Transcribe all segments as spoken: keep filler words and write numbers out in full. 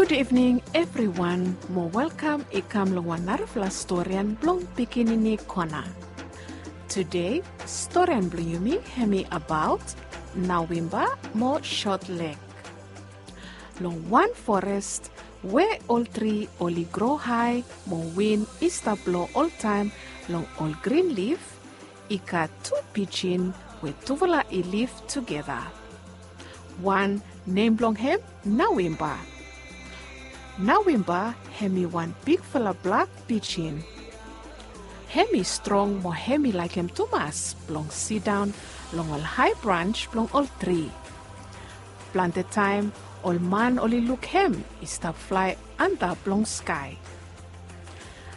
Gud ivning evriwan, mo welkam i kam long wan narafala storian blong pikinini kona. Tude, storian blong yumi hemi abaot Nawimba mo Sotleg. Long wan forest we ol tri oli gro hae mo win i stap blo oltaem long ol grin lif, i gat tu pijin we tufala i liv tugeta. Wan nem blong hem Nawimba. Nawimba hemi wan bigfala blak pijin. Hemi strong mo hemi laekem tumas blong sidaon long ol hae brans blong ol tri. Plante taem ol man oli luk hem i stap flae antap long skae.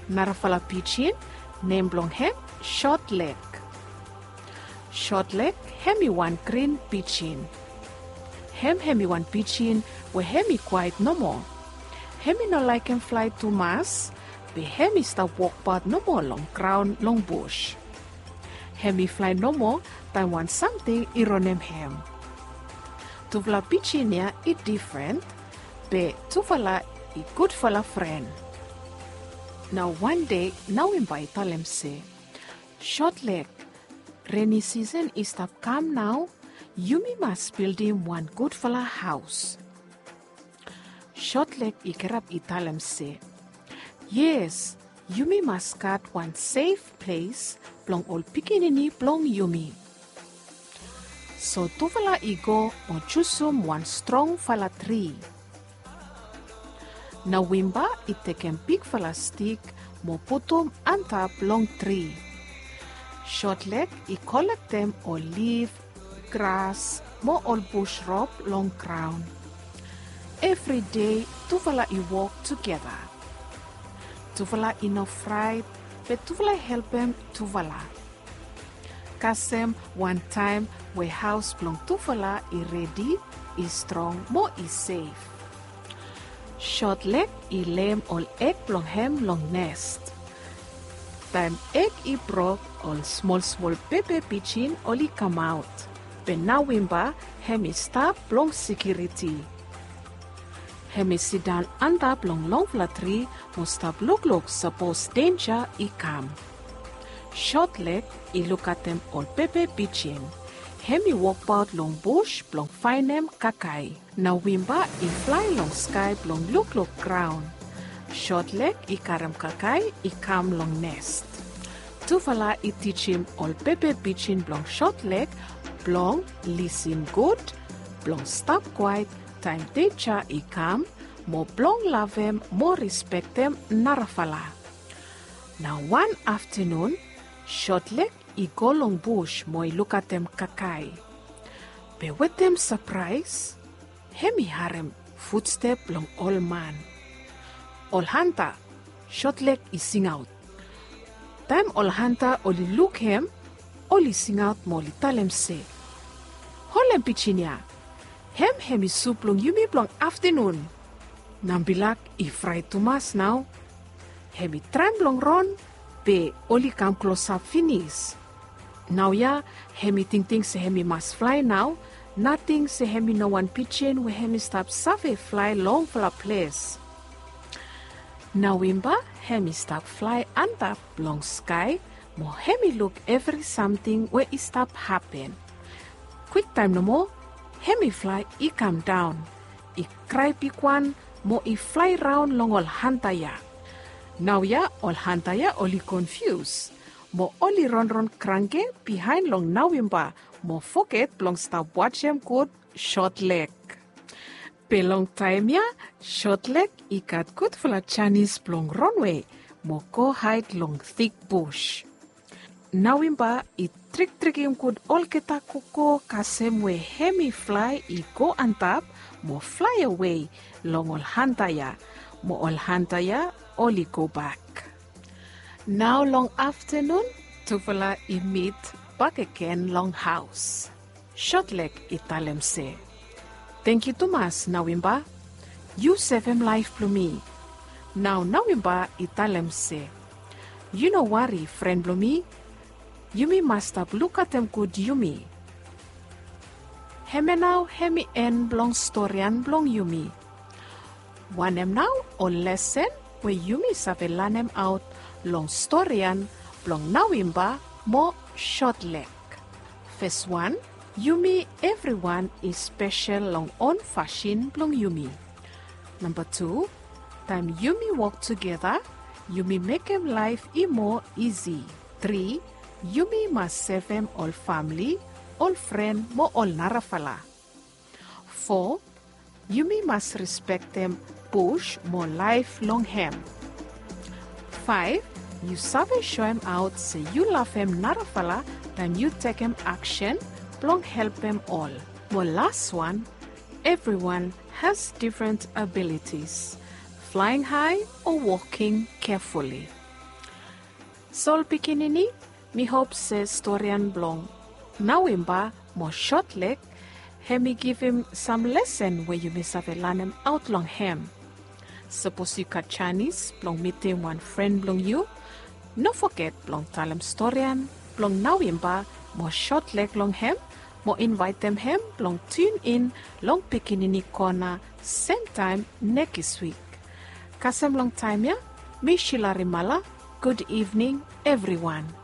Narafala pijin, nem blong hem Sotleg. Sotleg hemi wan grin pijin. Hem hemi wan pijin we hemi kwaet nomo. Hemi no laekem flae tumas, be hemi stap wokbaot nomo long graon long bus. Hemi flae nomo taem wan samting i ronem hem. Tufala pijin ya i difren, be tufala i gudfala fren. Nao wan dei Nawimba i talem se, Sotleg, reni sisen i stap kam nao, yumi mas bildim wan gudfala haos. Sotleg i gerap i talem se, yes, yumi mas gat wan sef ples blong ol pikinini blong yumi. So tufala i go mo jusum wan strongfala tri. Nawimba i tekem bigfala stik mo putum antap long tri. Sotleg i kolektem ol lif, gras mo ol bus rop long graon. Evri dei tufala i wok tugeta. Tufala i no fraet, be tufala i helpem tufala. Kasem wan taem we haos blong tufala i redi, i strong mo i sef. Sotleg i leem ol eg blong hem long nes. Taem eg i brok, ol smolsmol pepe pijin oli kamaot. Be Nawimba hemi stap blong sekiriti. Hemi sidaon antap long longfala tri mo stap lukluk sapos denja i kam. Sotleg i lukaotem ol pepe pijin. Hemi wokbaot long bus blong faenem kakae. Nawimba i flae long skae blong lukluk graon. Sotleg i karem kakae i kam long nes. Tufala i tijim ol pepe pijin blong Sotleg blong lisin gud, blong stap kwaet taem denja i kam, mo blong lavem mo respektem narafala. Nao wan aftenun, Sotleg i go long bus mo i lukaotem kakae. Be wetem sapraes, hemi harem futstep blong ol man. Ol hanta, Sotleg i singaot. Taem ol hanta oli luk hem, oli singaot mo oli talem se, holem pijin ya, hem hemi sup blong yumi blong aftenun. Nambilak i fraet tumas nao. Hemi traem blong ron, be oli kam klosap finis. Naoia hemi tingting se hemi mas flae nao, nating se hemi no wan pijin we hemi stap save flae longfala ples. Nawimba hemi stap flae antap long skae, mo hemi luk evri samting we i stap hapen. Kwiktaem nomo, hemi flae i kamdaon, i krae bigwan, mo i flae raon long ol hanta ya. Naoia ol hanta ya oli konfius, mo oli ronron kranke bihaen long Nawimba, mo foget blong stap wajem gud Sotleg. Be long taem ya, Sotleg i gat gudfala janis blong ronwe mo go haed long tik bus. Nawimba i triktrikim gud olgeta koko kasem we hemi flae i go antap mo flaeawe long ol hanta ya, mo ol hanta ya oli gobak. Nao long aftenun, tufala i mit bakegen long haos. Sotleg i talem se, tangkiu tumas Nawimba, yu sevem laef blong mi. Nao Nawimba i talem se, yu no wari fren blong mi, yumi mas stap lukaotem gud yumi. Hemia nao hemi en blong storian blong yumi. Wanem nao ol lesen we yumi save lanemaot long storian blong Nowemba mo Short Leg? Fes wan, yumi evriwan i spesel long on fasin blong yumi. Namba tu, taem yumi wok tugeta, yumi mekem laef i moa isi. Tri, yumi mas sevem ol famle, ol fren mo ol narafala. Fo, yumi mas respektem bus mo laef long hem. Faef, yu save soemaot se yu lavem narafala taem yu tekem aksen blong helpem ol. Mo las wan, evriwan has difren abilitis, flaeng hae o woking kefuli. So ol pikinini, mi hop se storian blong Nowemba mo Short Leg hem i givim sam lesen we yumi save lanemaot long hem. Sapos yu gat janis blong mitim wan fren blong yu, no foget blong talem storian blong Nowemba mo Short Leg long hem mo invaetem hem blong tiun in long Pikinini Kona semtaem nekis wik. Kasem long taem ya, mi Shila Rimala, gud ivning evriwan.